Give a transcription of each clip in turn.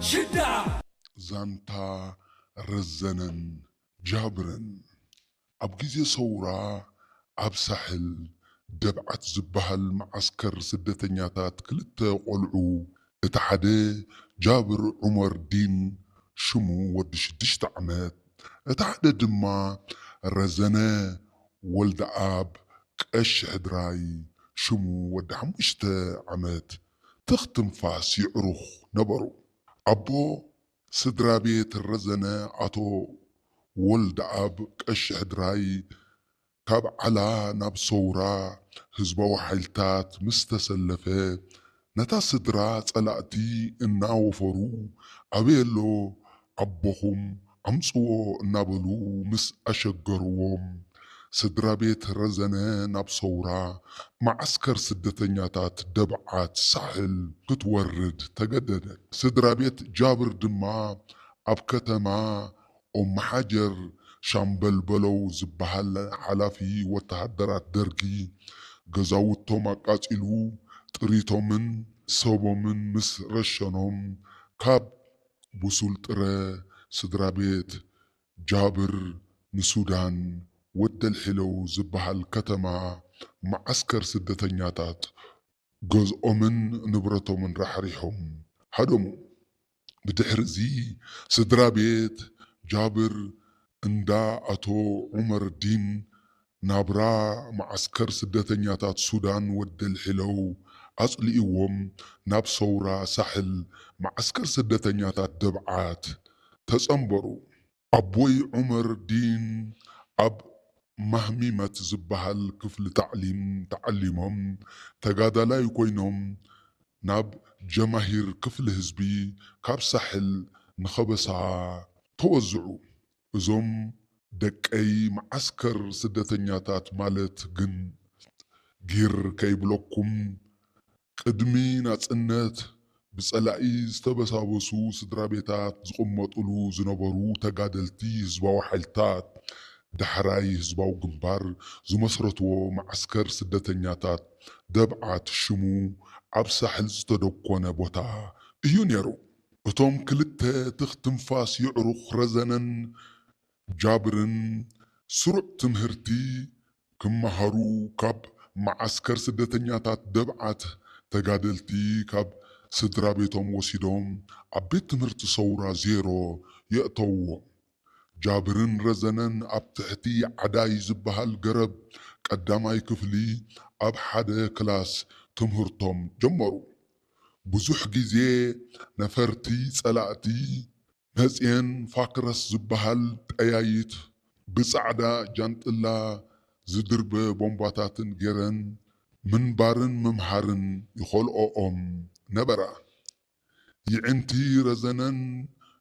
ሽዳ ዛንታ ረዘነን ጃብርን። ኣብ ግዜ ሰውራ ኣብ ሳሕል ደብዓት ዝበሃል መዓስከር ስደተኛታት ክልተ ቆልዑ፣ እቲ ሓደ ጃብር ዑመር ዲን ሽሙ ወዲ ሽዱሽተ ዓመት፣ እቲ ሓደ ድማ ረዘነ ወልደኣብ ቀሺ ሕድራይ ሽሙ ወዲ ሓሙሽተ ዓመት ትኽ ትንፋስ ይዕሩኽ ነበሩ። ኣቦ ስድራ ቤት ረዘነ ኣቶ ወልደኣብ ቀሺ ሕድራይ ካብ ዓላ ናብ ሰውራ ህዝባዊ ሓይልታት ምስ ተሰለፈ፣ ነታ ስድራ ጸላእቲ እናወፈሩ፣ ኣበይ ኣሎ ኣቦኹም? ኣምጽዎ እናበሉ ምስ ኣሸገርዎም፣ ስድራ ቤት ረዘነ ናብ ሰውራ መዓስከር ስደተኛታት ደብዓት ሳሕል ክትወርድ ተገደደት። ስድራ ቤት ጃብር ድማ ኣብ ከተማ ኦም መሓጀር ሻምበል በለው ዝበሃል ሓላፊ ወተሃደራት ደርጊ፣ ገዛውቶም ኣቃጺሉ፣ ጥሪቶምን ሰቦምን ምስ ረሸኖም፣ ካብ ብሱል ጥረ ስድራ ቤት ጃብር ንሱዳን ወደልሒለው ዝበሃል ከተማ መዓስከር ስደተኛታት ገዝኦምን ንብረቶምን ራሕሪሖም ሃደሙ። ብድሕሪ እዚ ስድራ ቤት ጃብር እንዳ ኣቶ ዑመር ዲን ናብራ መዓስከር ስደተኛታት ሱዳን ወደልሒለው ኣጽሊእዎም ናብ ሰውራ ሳሕል መዓስከር ስደተኛታት ደብዓት ተጸንበሩ። ኣቦይ ዑመር ዲን ኣብ ማህሚመት ዝበሃል ክፍሊ ታዕሊም ተዓሊሞም ተጋዳላይ ኮይኖም ናብ ጀማሂር ክፍሊ ህዝቢ ካብ ሳሕል ንኸበሳ ተወዝዑ። እዞም ደቀይ መዓስከር ስደተኛታት ማለት ግን ጊር ከይብለኩም ቅድሚ ናጽነት ብጸላኢ ዝተበሳበሱ ስድራ ቤታት ዝቕመጥሉ ዝነበሩ ተጋደልቲ ህዝባዊ ሓይልታት ዳሕራይ ህዝባዊ ግንባር ዝመስረትዎ መዓስከር ስደተኛታት ደብዓት ሽሙ ኣብ ሳሕል ዝተደኮነ ቦታ እዩ ነይሩ። እቶም ክልተ ትኽ ትንፋስ የዕሩኽ ረዘነን ጃብርን ስሩዕ ትምህርቲ ክመሃሩ ካብ መዓስከር ስደተኛታት ደብዓት ተጋደልቲ ካብ ስድራ ቤቶም ወሲዶም ኣብ ቤት ትምህርቲ ሰውራ ዜሮ የእተውዎም። ጃብርን ረዘነን ኣብ ትሕቲ ዓዳይ ዝበሃል ገረብ ቀዳማይ ክፍሊ ኣብ ሓደ ክላስ ትምህርቶም ጀመሩ። ብዙሕ ግዜ ነፈርቲ ጸላእቲ መጽየን ፋክረስ ዝበሃል ጠያይት ብጻዕዳ ጃንጥላ ዝድርበ ቦምባታትን ገይረን ምንባርን ምምሃርን ይኸልኦኦም ነበራ። ይዕንቲ ረዘነን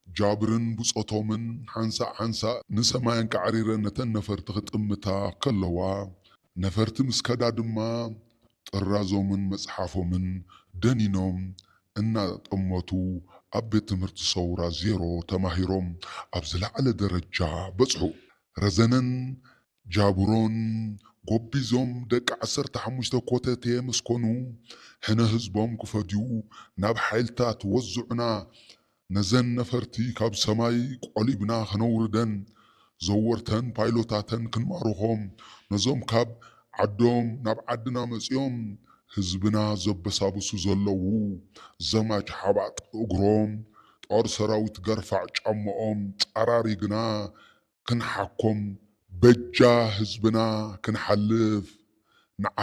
ጃብርን ብጾቶምን ሓንሳእ ሓንሳእ ንሰማይ ኣንቃዕሪረን ነተን ነፈርቲ ክጥምታ ከለዋ፣ ነፈርቲ ምስ ከዳ ድማ ጥራዞምን መጽሓፎምን ደኒኖም እናጠመቱ ኣብ ቤት ትምህርቲ ሰውራ ዜሮ ተማሂሮም ኣብ ዝለዓለ ደረጃ በጽሑ። ረዘነን ጃብሮን ጎቢዞም ደቂ ዓሰርተ ሓሙሽተ ኮተቴ ምስ ኮኑ፣ ሕነ ህዝቦም ክፈድዩ ናብ ሓይልታት ወዝዑና ነዘን ነፈርቲ ካብ ሰማይ ቆሊብና ከነውርደን፣ ዘወርተን ፓይሎታተን ክንማርኾም፣ ነዞም ካብ ዓዶም ናብ ዓድና መጺኦም ህዝብና ዘበሳብሱ ዘለዉ ዘማች ሓባጥ እግሮም፣ ጦር ሰራዊት ገርፋዕ ጫምኦም ጸራሪግና ክንሓኮም፣ በጃ ህዝብና ክንሓልፍ